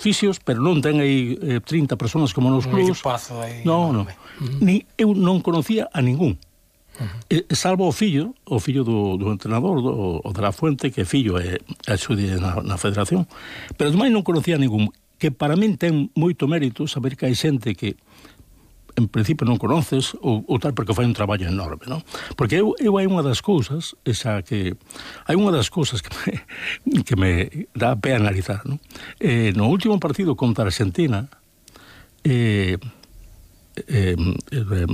oficios, pero non ten aí 30 personas como nos clubs. Non. Ni eu non conocía a ningún. Salvo o fillo do entrenador, o de la Fuente, que fillo é axude na federación, pero ademais non conocía a ningún, que para min ten moito mérito saber que hai xente que en principio non conoces ou tal, porque fai un traballo enorme, non? Porque eu hai unha das cousas que me dá pé analizar, non? No último partido contra Argentina,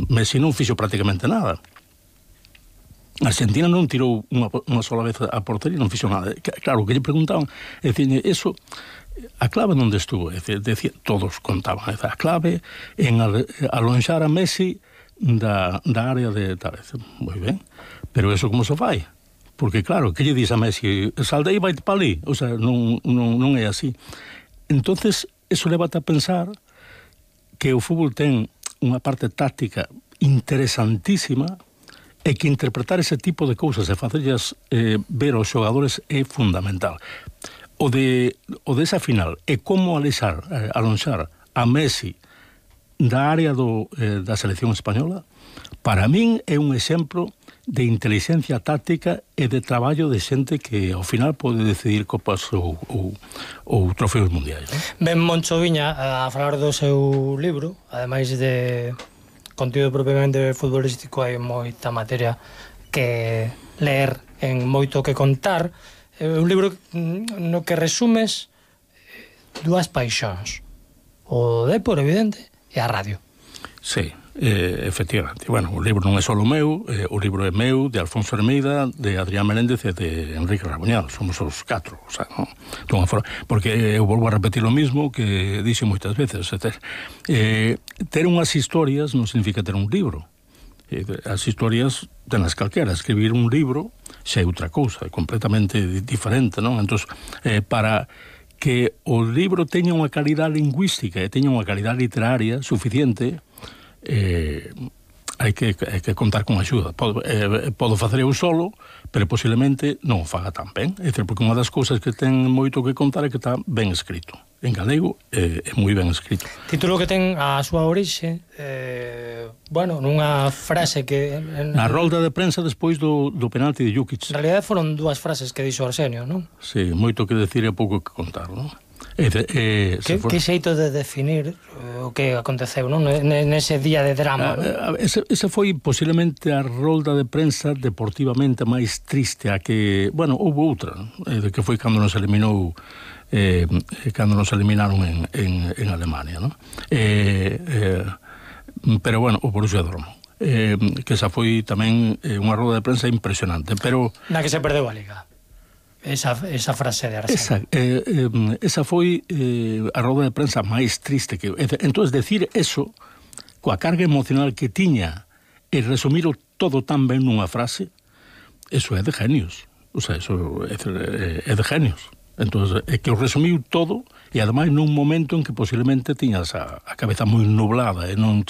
Messi non fixo prácticamente nada. Argentina non tirou unha sola vez a portería, non fixo nada. Claro, que lle preguntaban, é dicir, eso, a clave onde estuvo, é dicir, todos contaban, a clave en alonxar a Messi da área de tal vez. Moi ben, pero eso como se fai? Porque claro, que lle dis a Messi, salde aí, vai para ali, o sea, non é así. Entonces, eso levate a pensar que o fútbol ten unha parte táctica interesantísima, e que interpretar ese tipo de cousas e facerlas ver aos xogadores é fundamental. O desa final é como alonxar a Messi da área da selección española, para min é un exemplo de inteligencia táctica e de traballo de xente que ao final pode decidir copas ou trofeos mundiais. Ben Moncho Viña a falar do seu libro, ademais de contido propiamente futbolístico, hai moita materia que ler, en moito que contar. Un libro no que resumes dúas paixóns, o depor, evidente, e a radio. Sí, efectivamente. Bueno, o libro non é só o meu, o libro é meu, de Alfonso Hermida, de Adrián Menéndez e de Enrique Rabuñal. Somos os 4, o sea, non? Porque eu volvo a repetir o mismo que dixo moitas veces. Ter unhas historias non significa ter un libro. As historias tenas calquera. Escribir un libro xa é outra cousa, é completamente diferente, non? Entón, para que o libro teña unha calidad lingüística e teña unha calidad literaria suficiente, hai que contar con axuda. Podo facer eu solo, pero posiblemente non o faga tan ben. É dicir, porque unha das cousas que ten moito que contar é que está ben escrito. En galego é moi ben escrito. Título que ten a súa orixe, nunha frase que... Na rolda de prensa despois do penalti de Jukic. En realidad foron dúas frases que dixo Arsenio, non? Sí, moito que decir e pouco que contar, non? Que xeito de definir o que aconteceu, non? Nese día de drama, non? Esa foi posiblemente a rolda de prensa deportivamente máis triste, a que, houve outra, que foi cando nos eliminaron en Alemania, non? Pero, o Borussia Dortmund, que esa foi tamén unha rolda de prensa impresionante, pero... Na que se perdeu a Liga. Esa frase de Arsenio. Esa foi a roda de prensa máis triste que... Entón, decir eso, coa carga emocional que tiña, e resumir todo tan ben nunha frase, eso é de genios. O sea, eso é de genios. Entón, é que o resumiu todo, e ademais nun momento en que posiblemente tiñas a cabeza moi nublada e non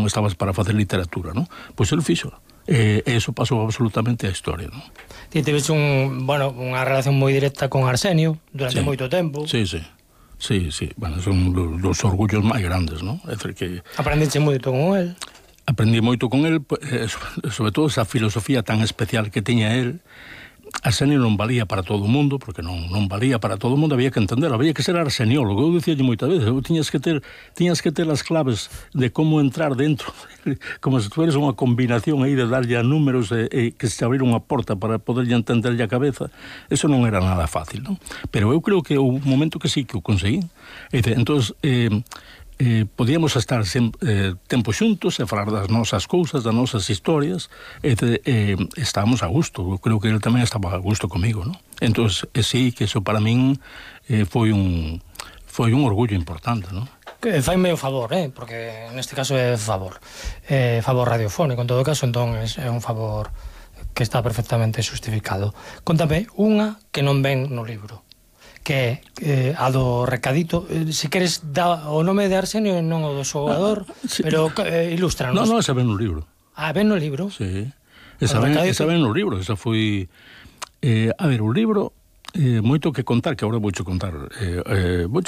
estabas para facer literatura, non? Pois el fixo. Eso pasou absolutamente a historia, non? Ti tiveste unha relación moi directa con Arsenio durante moito tempo. Sí. Son dos orgullos máis grandes, non? É dicir que... Aprendiste moito con el? Aprendí moito con el, sobre todo esa filosofía tan especial que tiña el. Arsenio non valía para todo o mundo, porque non valía para todo o mundo, había que entenderlo, había que ser arseniólogo. Eu dicíalle moitas veces, tiñas que ter as claves de como entrar dentro, como se tuveres unha combinación aí de darlle a números e que se abrira unha porta para poderlle entenderlle a cabeza. Eso non era nada fácil, non? Pero eu creo que houve un momento que sí que o conseguí. Entón, podíamos estar tempo xuntos e falar das nosas cousas, das nosas historias, estábamos a gusto. Eu creo que ele tamén estaba a gusto comigo, non? Entón, sí, que eso para min foi un orgullo importante, non? Faime o favor, porque neste caso é favor radiofónico, en todo caso, entón é un favor que está perfectamente justificado. Contame unha que non ven no libro, que é a do recadito. Se queres dá o nome de Arsenio e non o do xogador, pero ilústranos. Non, esa ven no libro. Ven no libro? Sí, esa ven no libro. Esa foi... a ver, o libro moito que contar, que agora voucho contar. Voucho